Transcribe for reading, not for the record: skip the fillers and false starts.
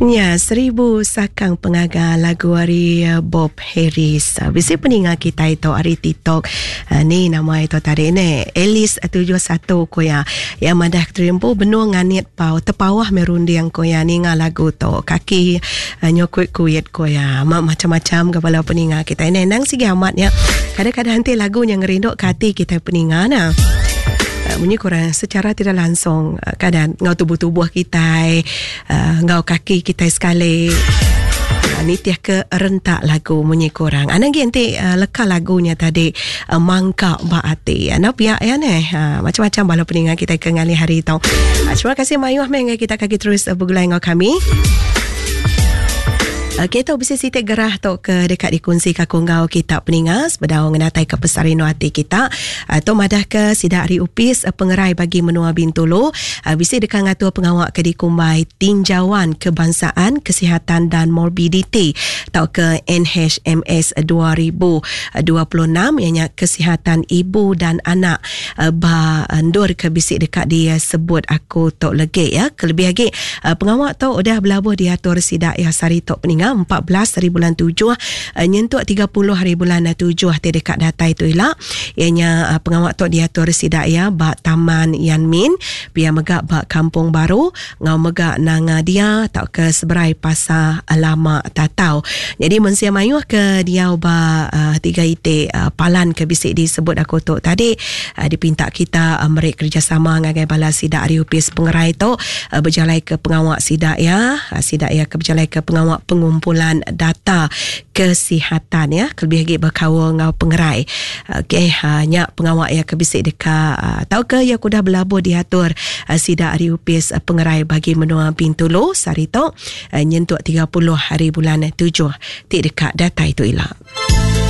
Nya Seribu Sakang Pengaga lagu ari eh, Bob Harris. Ah, bisi peninga kitai tu ari TikTok. Ah, ni nama itu tadi ne. Alice 71 ko ya. Ya madah keterimpu benung nganit pau tepawah me runding ko ya ninga lagu tu. Kaki ah, nyokut kuit ko ya. Ma macam-macam ke bala peninga kitai ne. Nang sigi amat nya. Kadang-kadang nanti lagu nya ngerindu ke ati kitai peninga na. Munyi kurang secara tidak langsung kadang ngau tubuh-tubuh kitai enggau kaki kitai sekali nitih ke rentak lagu munyi ku orang. Anang agi enti leka lagu nya tadi mangka ba ati. Anu pia ya neh. Macam-macam bala peninga kitai ke ngalih hari tu. Terima kasih mayuh meh ngagai kita kaki terus begulai enggau kami. Okey tu bisi siti gerah tu ke deka dikunsi ka aku enggau kita peninga sebedau ngenatai ke pesarino ati kita. Tu madah ke sida ari Opis Pengerai Bagi Menua Bintulu bisi deka ngatur pengawa ke dikumbai Tinjauan Kebangsaan Kesihatan dan Morbiditi tauka NHMS 2026 iya nya Kesihatan Ibu dan Anak ba endur ke bisi deka disebut aku tu legi ya. Kelebih agi pengawa tu udah belabuh diatur sida iya sehari tu peninga 14 hari bulan tujuh nyentuk 30 hari bulan tujuh ti deka datai tu ila. Iya nya pengawa tu diatur sida iya ba Taman Yan Min, pia mega ba Kampung Baru enggau mega Nanga Dia tauka seberai Pasar Lama Tatau. Nyadi mensia mayuh ke diau ba tiga iti palan ke bisi disebut aku tu tadi dipinta kita meri kerejasama ngagai bala sida ari Opis Pengerai tu bejalaika pengawa sida iya, sida iya ke bejalaika pengawa pengumpulan data kesihatan ya kelebih agi bekaul enggau pengerai. Okey ha, nya pengawa iya ke bisi deka tauka iya ke udah belabuh diatur sida ari Opis Pengerai Bagi Menua Bintulu sehari tu nyentuk 30 hari bulan tujuh ti deka datai tu ila.